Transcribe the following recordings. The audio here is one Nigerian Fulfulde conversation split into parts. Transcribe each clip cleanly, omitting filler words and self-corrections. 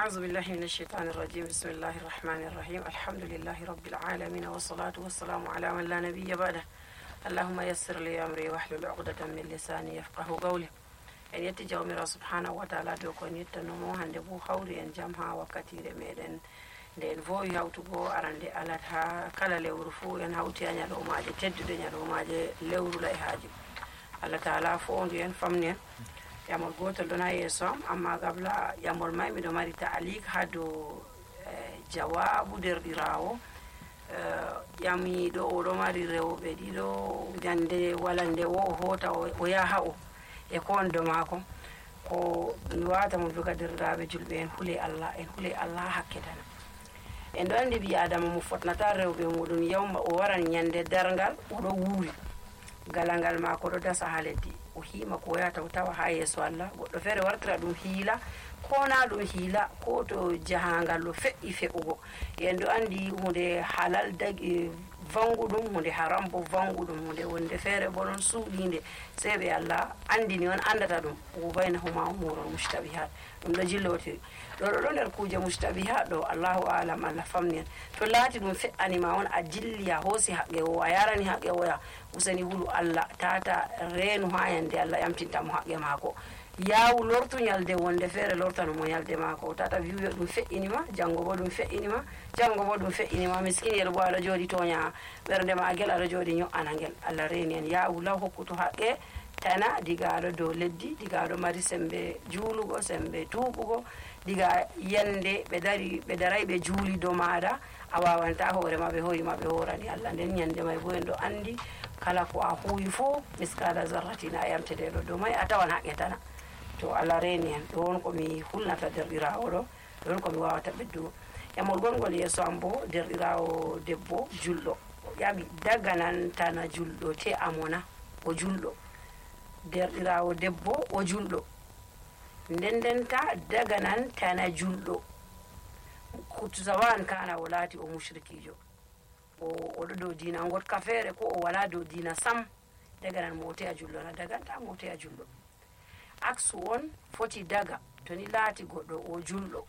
أعوذ بالله من الشيطان الرجيم بسم الله الرحمن الرحيم الحمد لله رب العالمين والصلاة والسلام على من لا نبي بعده اللهم يسر لي أمري واحلل عقدة من لساني يفقه قولي en yetti jawmirawo subhanahu wa taala dow ko en yettanomo hande bo hawri en jaam ha wakkatire meɗen nde en vowi hawtugo arande alat ha kala lewru fuu en hawti a ñalowmaje teddude ñalowmaje lewru layhaji allah taala fondu en famni en yamol gotel ɗon ha yeeso am amma gabla yamol may miɗo mari taalik ha dow jawabu derɗirawo yamiɗo oɗo mari rewɓe ɗiɗo ñande walande o hota o yaha o e kondo mako ko mi wata mo joga derɗiraɓe julɓe en huule allah hakke tan en ɗo andi ɓi adama mo fotnata rewɓe muɗum yawma o waran ñande dargal oɗo wuuri galangal mako ɗo dasa ha leddi o hima ko yata o tawa ha yeeso allah goɗɗo feere wartira ɗum hiila ko na ɗum hiila ko to jahangal ɗo fe'i fe'ugo en ɗo andi hunde halal dagi vanguɗum hunde haram bo vanguɗum hunde wonde feere bo ɗon suuɗinde sey ɓe allah andini on andata ɗum o baynahuma umurul mushtabihat ɗum ɗo jillotiri ɗo nder kuje mushtabihat ɗo allahu alam allah famni en to laati ɗum fe'anima on a jilli a hoosi haqqe o a yarani haqqe oya useni hulu allah tata reenu ha yande allah yamtintamo haqqe maako yawu lortu ñalde wonde feere lortano mo ñalde maako tata wiyo ɗum fe'inima janngo bo ɗum fe'inima miskiniyel bo aɗa jooɗi toña ɓernde ma gel aɗa jooɗi ño'ana ngel allah reeni en yawu law hokkuto haqqe tana diga aɗo dow leddi diga aɗo mari sembe juulugo sembe tuuɓugo diga yande ɓe daray ɓe juuli dow maɗa a wawanta hoorema ɓe hoyima ɓe horani allah nden ñande may bo en ɗo andi kala ko a huwi fo miskala zarratina a yamteteɗo dow may a tawan haqqe tana to allah reeni en ɗon komi hulnata derɗirawo ɗo ɗon komi wawata ɓeddugo yamol gongol yeeso am bo derɗirawo debbo julɗo yaɓi daganantana julɗo te amona o julɗo derɗirawo debbo o julɗo ndendenta daganantana julɗo sawan kana o laati o mushrikijo oɗo dow dina gotka feere ko o wala dow dina sam daganan mo te a julɗo na daganta mo te a julɗo aksu on foti daga to ni laati goɗɗo o julɗo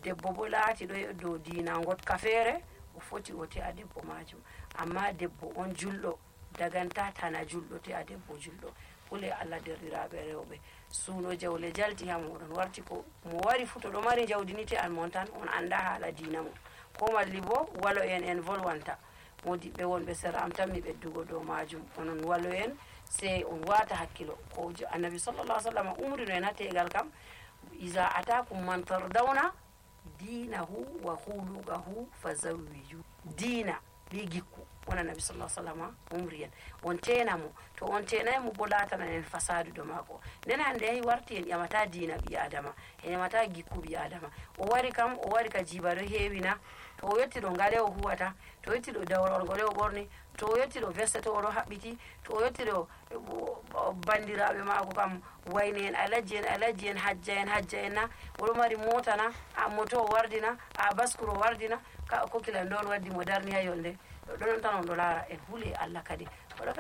debbo bo laati ɗo dow dina gotka feere o foti o te a debbo majum amma debbo on julɗo daganta tana julɗo te a debbo julɗo hule allah derɗiraɓe rewɓe suuno jawle jalti ha moɗon warti ko mo wari fu to ɗo mari jawdinite an mon tan on anda haala dina mo ko malli bo walo en volwanta modiɓɓe wonɓe sera am tan mi ɓeddugo dow majum onon walo en sey on wata hakkilo ko annabi sallallah ah sallam umrino en ha tegal kam isa atakum man tardawna dinahu wa hulugahu fa zawwiju dina bi gikku on annabi sallah sallam umri en on tenamo to on tenaymo bo latana en fasadu do mako nden hande yahi warti en ƴamata dina ɓi adama en ƴamata gikku ɓi adama o wari ka jibaro heewina to o yetti ɗo ngale o huwata to yetti ɗo dawrol ngole o ɓorni to o yetti ɗo veste to oɗo haɓɓiti to o yetti ɗo bandiraɓe mako kam wayne en alajji en hajja en na oɗo mari mota na a moto o wardina a baskuro o wardina kokilan ɗon waddi mo darni ha yolde ɗonon tan on ɗo laara en huule allah kadi oɗo